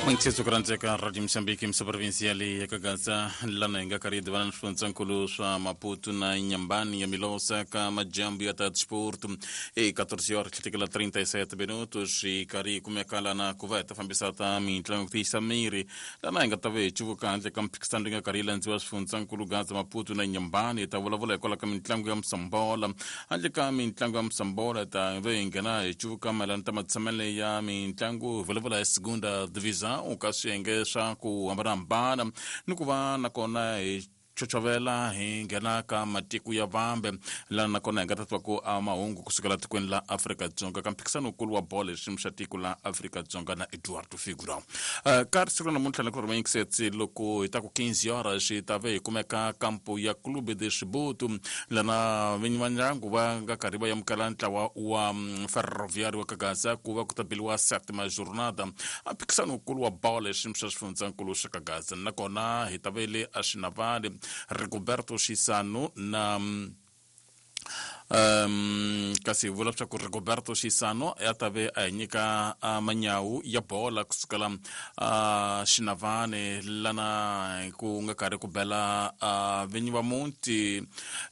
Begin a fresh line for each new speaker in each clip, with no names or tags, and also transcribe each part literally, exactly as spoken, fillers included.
Mwinkhetso kurandzeka Radio Mozambique misa leyi ya Kagaza lana hi nga karhi hi divana na swifundzankulu swa Maputo na Inhambane ya Milosa ka majambu ya ta disporto e quatorze horas tlhetekela trinta e sete minutos hi karhi hi kumeka lana ku va hi ta fambisa ta mitlangu ku tiyisa miri lana hi nga ta va hi cuvuka handle ka mphikisano leyi nga karhi yi landziwa swifundzankulu Gaza Maputo na Inhambane hi ta vulavula hikwalaho ka mitlangu ya Msambola handle ka mitlangu ya Msambola hi ta va hi nghena hi cuvuka mayelana ta matshamele ya mitlangu hi vulavula hi Segunda Divisão ka swiyenge swa ku hambanahambana ni ku va nakona hi chochovela hi nghena ka matiko ya vambe lana nakona hi nga ta twa ku a mahungu kusukela tikweni la Afrika-Dzonga ka mphikisano wukulu wa bolo hi xiyimo xa tiko la Afrika-Dzonga na Eduardo Figura. Uh, ka siku ra namuntlha ni ku ri yingisetsi loko hi ta ku quinze horas hi ta ve hi kumeka kampo ya Clube de Chibuto lana vinyi va ndyangu va nga karhi va amukela ntlawa wa Ferroviário wa Kagaza ku va ku ta beliwa sétima jornada a mphikisano wukulu wa bolo hi xiyimo xa xifundzankulu xa Kagaza nakona hi ta ve le a Xinavane Rigoberto Chisano na um kasi hi vula leswaku Rigoberto Chisano ya ta ve a hi nyika manyawu ya bola kusukela uh, Xinavane lana ku nga karhi ku bela uh, vinyi va muti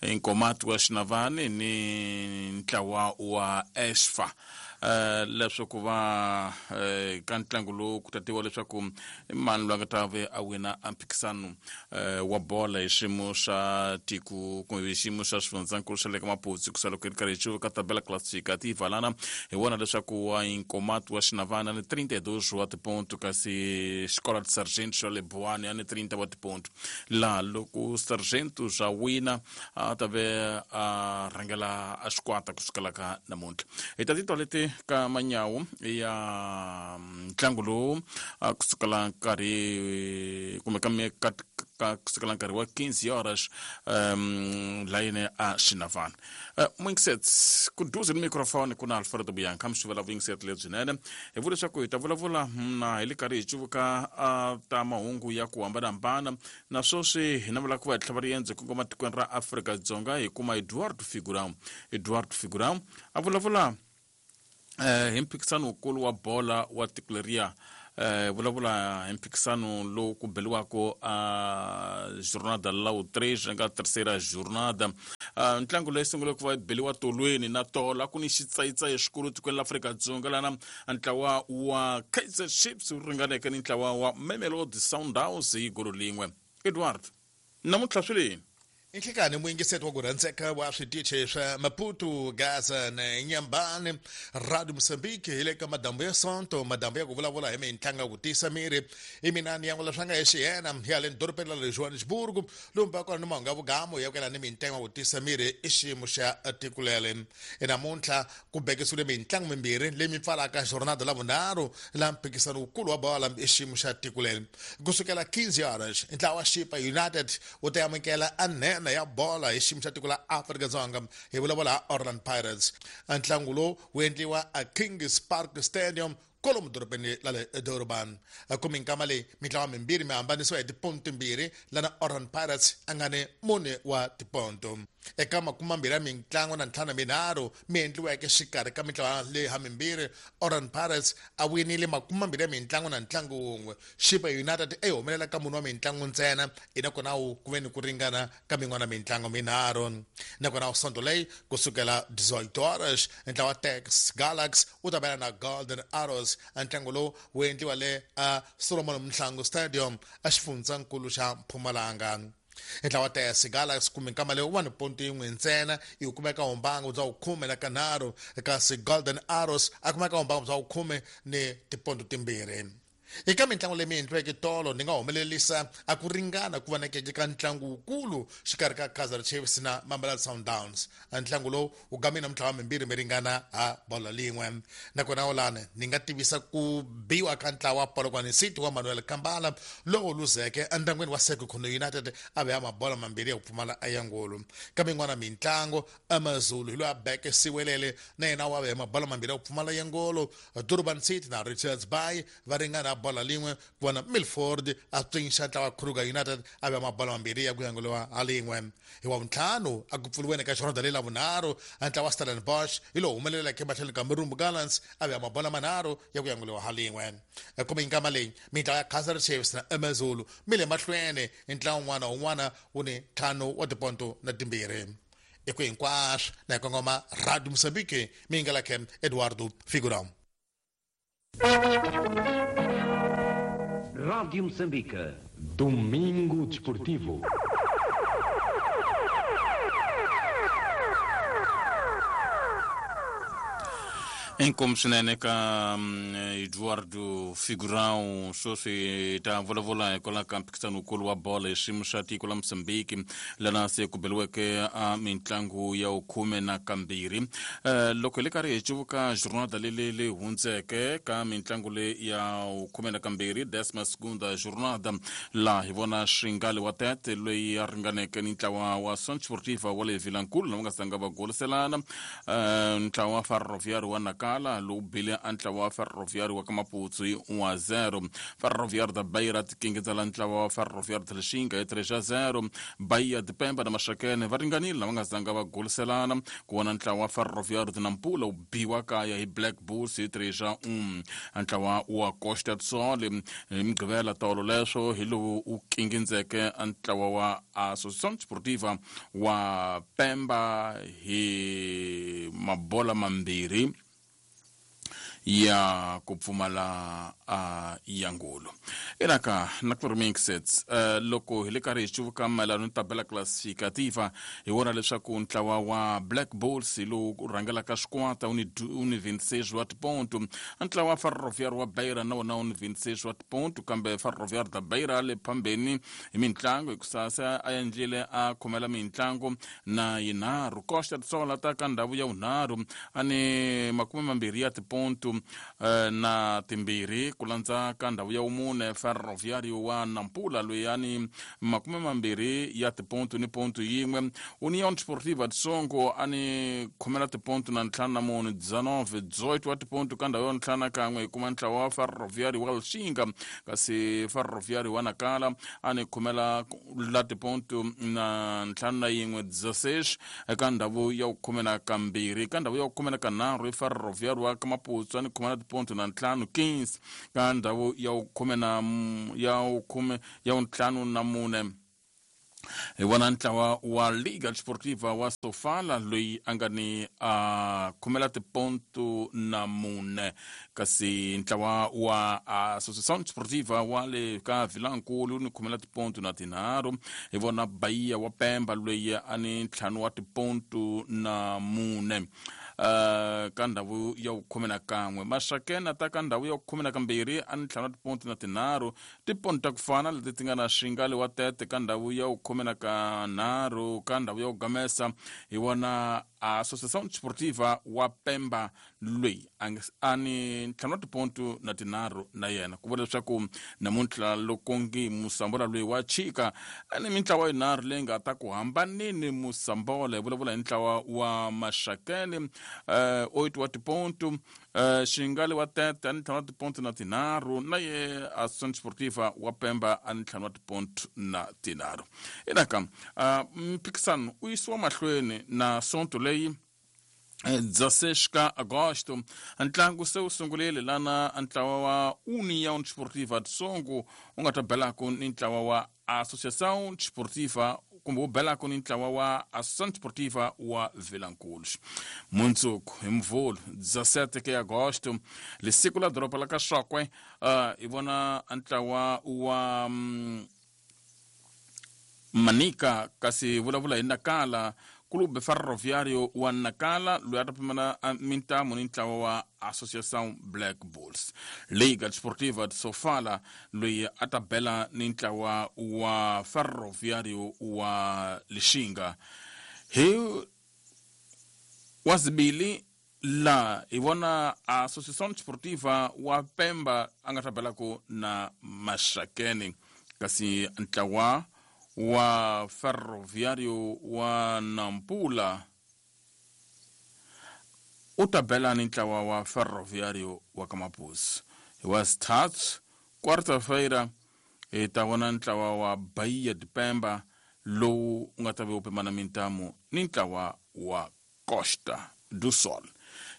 Nkomati wa Xinavane ni ntlawa wa Esfa. Uh, leswaku va uh, ka ntlangu lowu ku ta tiviwa leswaku i mani loyi a nga ta ve a wina a mphikisano uh, wa bola hi xiyimo xa tiko kumbe hi xiyimo xa xifundzankulu xa le ka Maputo ku loko hi ri karhi hi cuvuka tabela classificativa lana hi vona leswaku wa Nkomati wa Xinavane ni trinta e dois wa tiponto kasi Escola de Sargento xa le Buane a ni trinta wa tiponto laha loko Sargento swa wina a ta ve a rhangela a xikwata kusukela ka namuntlha hi ta titwa leti ka manyawu ya ntlangu lowu kusukela nkarhi kumbe ka ka kusukela nkarhi wa quinze horas um layini a Xinavane. Uh, Mwingisetsi ku duze ni microphone ku na Alfredo Bianca mi xivela vuyingiseti lebyinene hi vula leswaku hi ta vulavula na hi le karhi hi cuvuka uh, ta mahungu ya ku hambanahambana na sweswi hi navela ku va hi tlhava riendzo kongoma tikweni ra Afrika-Dzonga hi kuma Eduardo Figurão. Eduardo Figurão a vulavula eh hi mphikisano wukulu wa bola wa tiko leriya eh vulavula hi mphikisano lowu ku beliwaka a jornada la três nga terceira jornada. Uh, ntlangu leyi sungule ku va beliwa tolweni na tola ku ni xitsayitsayi xikulu tikweni la Afrika-Dzonga lana ntlawa wa Kaizer Chiefs wu ringaneke ni ntlawa wa Mamelodi Sundowns hi golo lin'we. Edward, namuntlha swi leni
Inhlekani muyingiseti wa ku rhandzeka wa switichi swa Maputo, Gaza na Inhambane, Radio Mozambique hi le ka madambu ya Sonto, madambu ya ku vulavula hi mitlangu ya ku tiyisa miri. I mina ni yan'wela swa nga hi xiyena ya le dorobeni ra le Johannesburg, lomu va kona ni mahungu ya vugamu ya ku yelana ni mitlangu ya ku tiyisa miri i xiyimo xa tiko leri. Namuntlha ku bekisiwile mitlangu mimbirhi leyi mi pfalaka jornada la vunharhu la mphikisano wukulu wa bola i xiyimo xa tiko leri. Kusukela quinze horas ntlawa wa Chippa United wu ta amukela anene ya bola hi xiyimo xa tiko la Afrika-Dzonga hi vulavula Orlando Pirates. Ntlangu lowu wu endliwa a Kings Park Stadium kolomu dorobeni la le Durban. Ku minkama leyi mitlawa mimbirhi mi hambanisiwa hi tiponto timbirhi lana Orlando Pirates a nga ni mune wa tiponto. Eka makume mambirhi ya mitlangu na ntlhanu minharhu mi endliweke xikarhi ka mitlawa leyi ha mimbirhi, Orlando Pirates a winile makume mambirhi ya mitlangu na ntlangu wun'we. Chippa United e humelela ka mune wa mitlangu ntsena, nakona wu ku ve ni ku ringana ka min'wana mitlangu minharhu. Nakona Sonto leyi kusukela dezoito horas ntlawa Tex Galaxy wu ta bela na Golden Arrows. Ntlangu lowu wu endliwa le a Solomon Mhlangu Stadium a xifundzankulu xa Mpumalanga. Ntlawa Tex Galaxy kumbe nkama leyi wa ni ponto yin'we ntsena yi kumeka humbangu bya khume na kanharhu, kasi Golden Arrows a kumeka humbangu bya khume ni tiponto timbirhi. Eka mitlangu leyi mi endliweke tolo ni nga humelerisa a ku ringana ku va nekeke ka ntlangu wukulu xikarhi ka Kaizer Chiefs na Mamelodi Sundowns. Ntlangu lowu wu gamile mitlawa mimbirhi mi ringana ha bola lin'we. Nakona olane ni nga tivisa ku biwa ka ntlawa wa Polokwane City wa Manuel Kambala lowu luzeke entlangwini wa Sekhukhune United a ve ya mabola mambirhi ya ku pfumala ya ngolo. Ka min'wana mintlangu AmaZulu hi loyi a beke Siwelele na yena wa ve ya mabola mambirhi ya ku pfumala ya ngolo. Durban City na Richards Bay va ringana bola lin'we ku vona Milford a tswinxa ntlawa wa Kruger United a va mabola mambirhi ya ku yanguliwa ha lin'we. Hi wa vuntlhanu a ku pfuriweni ka jornada leyi la vunharhu ntlawa wa Stellenbosch hi lowu humeleleke emahlweni ka Marumo Gallants a va mabola manharhu ya ku yanguliwa ha lin'we. Kumbe nkama leyi mintlawa ya Kaizer Chiefs na AmaZulu mi le mahlweni ntlawa wun'wana wun'wana wu ni ntlhanu wa tiponto na timbirhi. Eku hinkwaswo na hi kongoma Radio Mozambique mi nga lakhe Eduardo Figurão.
Rádio Moçambique.
Domingo Desportivo.
Inkomu swinene ka Eduardo Figurão sweswi ta vulavula hikwalaho ka mphikizanokulu wa bolo hi xiyimo xa tiko la Mozambique lana se ku beliweke a mitlangu ya khume na kambirhi. Loko hi le karhi hi cuvuka jornada leyi leyi hundzeke ka mitlangu leyi ya khume na kambirhi décima segunda jornada laha hi vona Xingali wa Tete loyi a ringaneke ni ntlawa wa Sonch Sportiva wa le Vilankulu lava nga zanga va goliselana, ntlawa wa Ferroviário wa Nakala lowu bile a ntlawa wa Ferroviário wa ka Maputsu hi un a zero. Ferroviário da Beira tikingidzela ntlawa wa Ferroviário de Lixinga hi three a zero. Bahia de Pemba na Maxakene va ringanile lava nga zanga va goliselana ku vona ntlawa wa Ferroviário de Nampula wu biwa kaya hi Black Bulls hi three a un. Ntlawa wa Costa do Sol hi Mugqivela tolo leswo hi lowu wu kingindzeke ntlawa wa Associação Desportiva wa Pemba hi mabola mambirhi ya ku pfumala uh, ya ngulu. Enaka na ku remixets uh, loko hi le karhi hi cuvuka mayelana ni tabela classificativa hi vona leswaku ntlawa wa Black Bulls hi lowu rhangelaka xikwata wu ni wu ni vinte e seis wa tiponto, ntlawa wa Ferroviário wa Beira na wona wu ni vinte e seis wa tiponto, kambe Ferroviário da Beira le phambeni hi mitlangu hikusa se a endlile a khomela mitlangu na yinharhu. Costa do Sol ta ka ndhawu ya vunharhu a ni makume mambirhi ya tiponto na timbirhi ku landza ka ndhawu ya vumune Ferroviário wa Nampula loyi a ni makume mambirhi ya tiponto ni ponto yin'we. União Desportiva de Songo a ni khomela tiponto na ntlhanu na mune dezenove dezoito wa tiponto ka ndhawu ya ntlhanu na kan'we hi kuma ntlawa wa Ferroviário wa Lixinga, kasi Ferroviário wa Nakala a ni khomela la tiponto na ntlhanu na yin'we dezesseis eka ndhawu ya khume na kambirhi. Ka ndhawu ya khume na kanharhu i Ferroviário wa Kamaputsu a ni khomela tiponto na ntlhanu quinze ka ndhawu ya khume na ya khume ya ntlhanu na mune hi vona ntlawa wa Liga Desportiva wa Sofala loyi a nga ni a khomela tiponto na mune, kasi ntlawa wa Associação Desportiva wa le ka Vilankulu ni khomela tiponto na tinharhu. Hi vona Bahia wa Pemba loyi a ni ntlhanu wa tiponto na mune uh, ka ndhawu ya khume na kan'we. Maxakena ta ka ndhawu ya khume na kambirhi a ni ntlhanu wa tiponto na tinharhu, tiponto ta ku fana leti ti nga na Xingali wa Tete ka ndhawu ya khume na kanharhu. Ka ndhawu ya ku gamesa hi vona Associação Desportiva wa Pemba loyi a ni ntlhanu wa tiponto na tinharhu na yena. Ku vula leswaku namuntlha loko ngi Musambola loyi wa chika a ni mintlawa yinharhu leyi nga ta ku hambanini Musambola. Hi vulavula hi ntlawa wa Maxakene uh, oito wa tiponto, uh, Xingali wa Tete a ni ntlhanu wa tiponto na tinharhu, na ye Associação Desportiva wa Pemba a ni ntlhanu wa tiponto na tinharhu. Enaka uh, mphikisano u yisiwa mahlweni na sonto leyi dezesseis ka agosto. Ntlangu se wu sungurile lana ntlawa wa União Desportiva de Songo wu nga ta belaku ni ntlawa wa Associação Desportiva kumbe wu belaku ni ntlawa wa Associação Desportiva wa Vilankulu. Mundzuku hi Mvhulu dezessete ke agosto lisiku la doroba la ka Xokwe uh, hi vona ntlawa wa um, Manica kasi vulavula hi Nakala Clube Ferroviário wa Nakala loyi a ta pimela mintamu ni ntlawa wa Associação Black Bulls. Liga Desportiva de Sofala loyi a ta bela ni ntlawa wa Ferroviário wa Lixinga. Hi wazibili la hi vona Associação Desportiva wa Pemba a nga ta belaku na Maxakene, kasi ntlawa wa Ferroviário wa Nampula u ta bela ni ntlawa wa Ferroviário wa ka Mapuso. Hi wa sithathu Quarta-feira hi ta vona ntlawa wa Bahia de Pemba lowu wu nga ta ve wu pimana mintamu ni ntlawa wa Costa do Sol.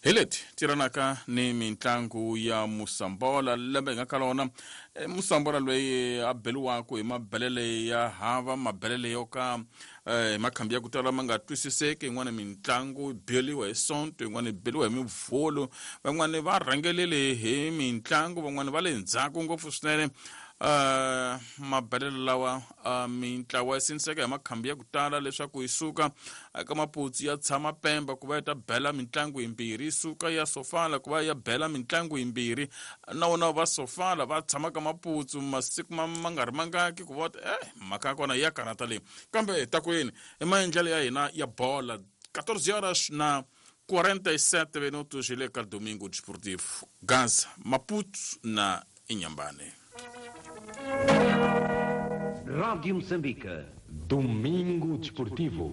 Hi leti tiranaka ni mitlangu ya Musambola lembe hi nga ka lona. E, Musambola loyi a beliwaku hi mabelele ya hava, mabelele yo ka eh, makhambi ya ku tala ma nga twisiseki. Yin'wana mitlangu yi beliwa hi Sonto, yin'wana yi beliwa hi Mivhulu, van'wani va rhangelele hi mitlangu, van'wani va le ndzhaku ngopfu swinene. Uh, mabelelo lawa uh, mintlawa yi sindziseka hi makhambi ya ku tala leswaku yi suka eka Maputsu ya tshama Pemba ku va yi ta bela mitlangu yimbirhi, yi suka ya Sofala ku va ya bela mitlangu yimbirhi, na wona va Sofala va tshama ka Maputsu masiku ma ma nga ri mangaki ku va eh mhaka ya kona ya karhata leyi. Kambe ta ku yini i maendlelo ya hina ya bola. Quatorze horas na quarenta e sete minutos hi le ka Domingo Desportivo, Gaza, Maputo na Inhambane.
Rádio Moçambique. Domingo Desportivo.